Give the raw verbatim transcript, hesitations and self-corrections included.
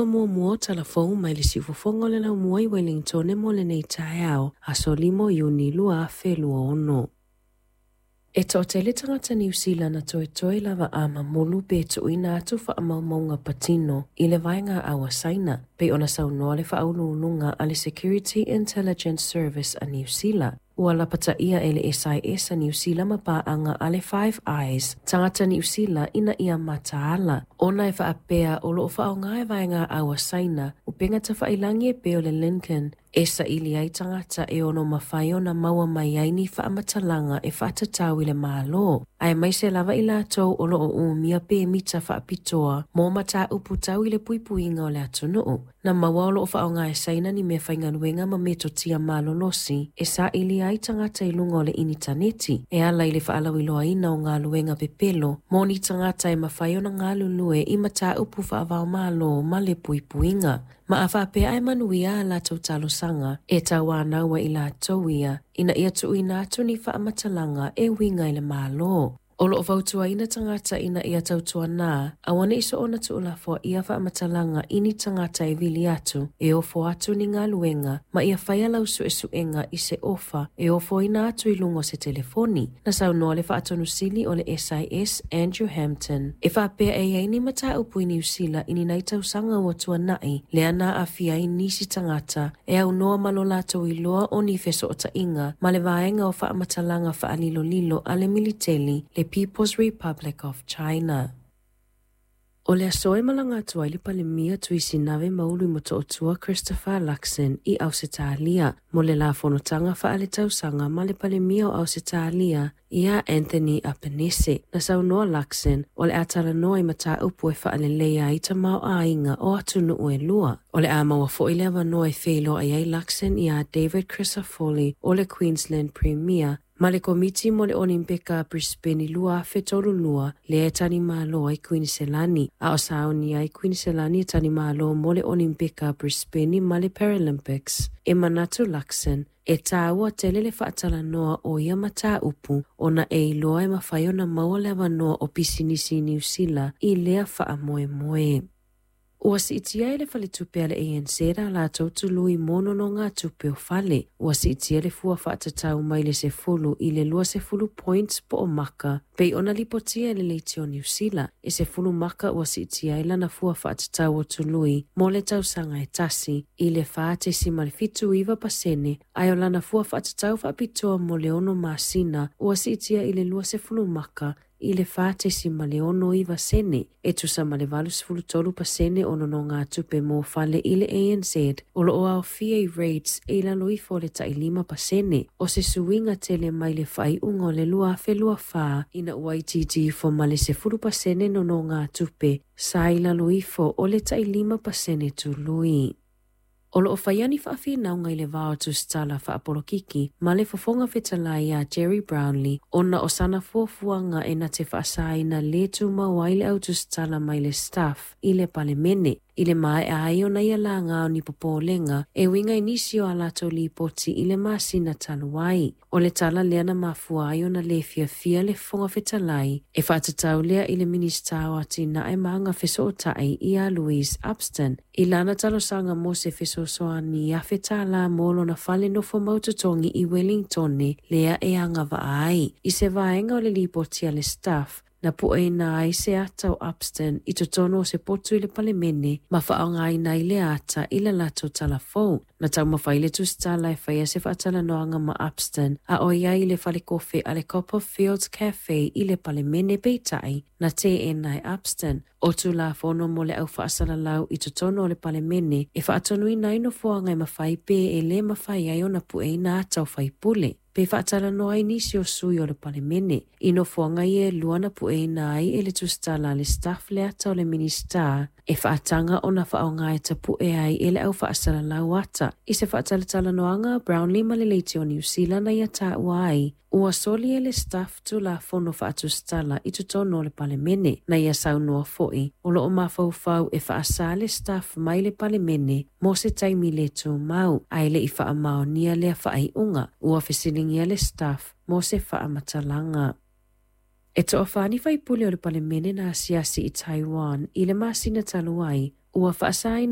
Muamua o talafou mai le siufofoga o le laumua i Wellingtone mo lenei taeao, aso lima o Iuni lua afe lua ono. E toatele tagata Niu Sila na toetoe lava a mamulu pe tuuina atu faamaumauga patino i le vaega au a Saina, pei ona saunoa le faauluuluga a le Security Intelligence Service a Niu Sila. Ua lapataia e le S I S a Niu Sila ma paaga a le Five Eyes, tagata Niu Sila ina ia mataala. Ona e faapea o loo faaaoga e vaega au a Saina, upega tafailangi e pei o le Lincoln, e saili ai tagata e ono mafai ona maua mai ai ni faamatalaga e faatatau i le Malo. Aemaise lava i latou o loo umia pemita faapitoa mo mataupu tau i le puipuiga o le atunuu. Na maua o loo faaaoga e Saina ni mea faigaluega ma metotia malolosi e saili ai tagata i luga o le initaneti e ala i le faalauiloaina o galuega pepelo mo ni tagata e mafai ona galulue i mataupu faavaomalo ma le puipuiga. Ma a faapea e manuia a latou talosaga e tauanau ai i latou ia ina ia tuuina atu ni faamatalaga e uiga i le Malo. O loo fautuaina tagata ina ia tautuana, aua nei soona tuulafoaia faamatalaga i ni tagata e vili atu, e ofo atu ni galuega, ma ia faia lau suesuega i se ofa e ofoina atu i luga o se telefoni. Na saunoa le faatonusili o le S I S Andrew Hampton. E faapea e iai ni mataupu i Niu Sila i ni nai tausaga ua tuanai, lea na aafia ai nisi tagata e aunoa ma lo latou iloa o ni fesootaiga ma le vaega o faamatalaga faalilolilo a le militeli le People's Republic of China. O le aso e malaga atu ai le Palemia Tuisinave Maulu i Motootua Christopher Luxon i Ausetalia mo le la fonotaga faaletausaga ma le Palemia o Ausetalia ia Anthony Albanese. Na saunoa Luxon o le a talanoa i mataupu e faaleleia ai tamaoaiga o atunuu e lua. O le a maua foi le avanoa e feiloai ai Luxon ia David Crisafulli o le Queensland Premier ma le komiti mo le Olimpika Brisbane lua afe tolu lua lea e tanimalo ai Queensland. A o sauni ai Queensland e tanimalo mo le Olimpika Brisbane ma le Paralympics. E manatu Luxon e tāua tele le faatalanoa o ia mataupu ona e iloa e mafai ona maua le avanoa o pisinisi i Niu Sila i lea faamoemoe. Ua siitia e le faletupe a le A N Z a latou tului mo nonogatupe o fale. Ua siitia le fua faatatau mai le sefulu i le lua sefulu points po o maka, pei ona lipotia e le leitio Niu Sila. E sefulu maka ua siitia ai lana fua faatatau o tului mo le tausaga e tasi i le wha tesima le fitu iwa pasene, ae o lana fua faatatau faapitoa mo le ono masina ua siitia i le lua sefulu maka i le wha tesima le ono iwa sene, e tusa ma le valu sefulu tolu pasene o nonogatupe mo fale i le A N Z, o loo aofia i rates e i lalo ifo le tailima pasene, o se suiga tele mai le faaiuga o le lua afe lua whā, ina ua itiiti ifo ma le sefulu pasene nonogatupe, sa i lalo ifo o le tailima pasene tului. O loo whai ni faawhinauga i le vao tusitala faapolokiki ma le fofoga fetalai a Gerry Brownlee ona o sana fuafuaga e na te faasaina le tumau ai le au tusitala mai le staff i le palemene. I le maea ai ona ia laga o ni popolega e uiga i nisi o a latou lipoti i le masina talu ai. O le tala lea na mafua ai ona le fiafia le fofoga fetalai e faatatau lea i le Minista o Atinae ma Aga Fesootai ia Louise Upston i lana talosaga mo se fesoasoani afe tālā mo lona fale nofo mautotogi i Wellingtone lea e agavaa ai. I se vaega o le lipoti a le staff, na pueina ai se ata o Upston i totonu o se potu i le palemene ma faaaogaina ai le ata i le latou talafou. Na taumafai le tusitala e faia se faatalanoaga ma Upston a o iai i le falekofe a le Copperfields Cafe i le palemene peitai na teena e Upston. O tulafono mo le au faasalalau i totonu o le palemene e faatonuina ai nofoaga e mafai pe e le mafai ai ona pueina ata o faipule. Pe faatalanoa ai nisi o sui o le palemene. I nofoaga ia e lua na pueina ai e le tusitala a le staff le ata o le minista e faataga ona faaaoga e tapue ai e le au faasalalau ata. I se faatalatalanoaga Brownlee ma le leitio Niu Sila na ia taua ai, ua soli e le staff tulafono faatusitala i totonu o le palemene. Na ia saunoa foi, o loo mafaufau e faasa le staff mai le palemene mo se taimi le tumau, ae le i faamaonia lea faaiuga. Ua fesiligia le staff mo se faamatalaga. E toafā ni faipule o le palemene na asiasi i Taiwan i le masina talu ai, ua faasaina